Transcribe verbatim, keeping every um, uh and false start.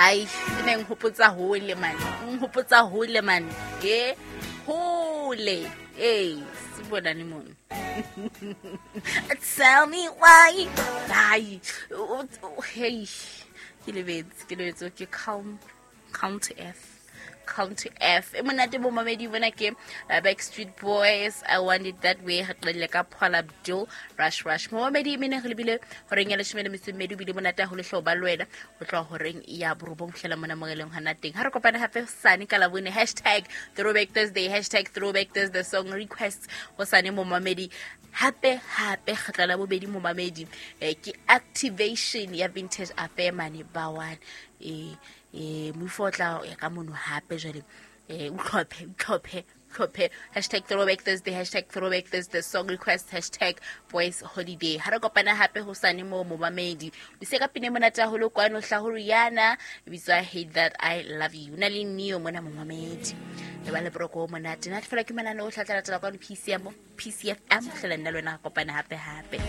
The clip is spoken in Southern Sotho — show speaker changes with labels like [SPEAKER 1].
[SPEAKER 1] Ai, e ne nhopotsa hole man, nhopotsa hole man. E hole. Eh, se bonane mono. Tell me why. Ai, hey, ke lebetse, ke lebetse ke calm, calm to earth. Calm to F. E monate bo mamedi bona ke uh, Backstreet Boys, I Want It That Way. Re qadile ka Paula Abdul, Rush Rush. Momamedi, mene re lebile horeng ya leshome le metso e mmedi. O bile monate haholo hle ho ba le wena ho tloha horeng ya borobong fihlela mona mo re leng hona teng. Ha re kopane hape hosane ka Labone, hashtag throwback Thursday, hashtag throwback Thursday song requests hosane momamedi. Hape hape kgetlo la bobedi momamedi, eh, ke activation ya Vintage Affair mane ba one. Eh eh mofo o tla ya ka mono hape jwale, eh o tlhophe, o tlhophe, tlhophe hashtag throwback Thursday, hashtag throwback Thursday song request, hashtag boys holiday. Ha re kopana hape hosane mo momamedi. O se ka pine monate haholo kwano hla ho Rihanna, e bitswa Hate That I Love You. Na le Neo mona momamedi. Le ba le broko o monate. Nna fela ke manane o tla tla latela kwano P C M, P C F M, hlela nna le wena re kopana hape hape.